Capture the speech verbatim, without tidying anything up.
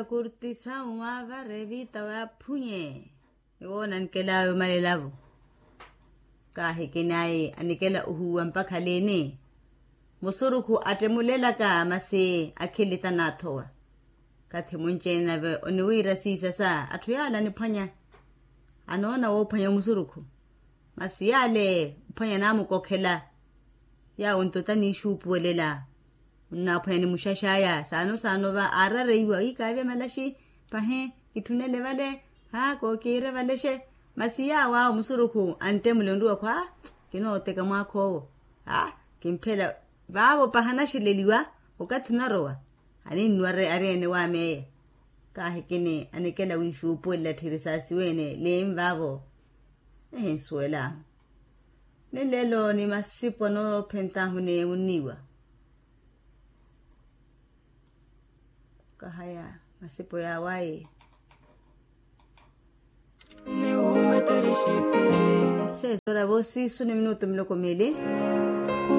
Akurtisa waavara evita waaphunye. Iwo onanikela awe omalelavo. Kaahikinayi anikela ohuwa mpakha liini? Musurukhu attemulelaka masi akhili tanaathowa. Kathi munci-ene nave oniwiira siisasa atthu yaala aniphwanya. Anoona woophwanya omusurukhu. Masi yaale ophwanya naamukokhela. Yaawo nto taniixuupuwelela. Onnaaphwanya ni muxaxaya saano saano va aarareiwa wi kaavya malaxi. Pahi kitthunele vale. Ha kookiire valexe. Masi yaawo awo musurukhu anttemule onriwa khwa. Kinooteka mwaakha owo. Ha kimphela. Vaavo paha naxeleliwa okathi onarowa. Aninnuwa ari ene waameeya. Kaahikini anikela wiixuupuwelela tthiri saasiweene liinvaavo. Ehinsuwelaahu. Ni lelo ni masipo anoophentaahu ni munniiwa. Kahaya masipo yaawayi. Seis horas voosiisu ni minutu miloko miili.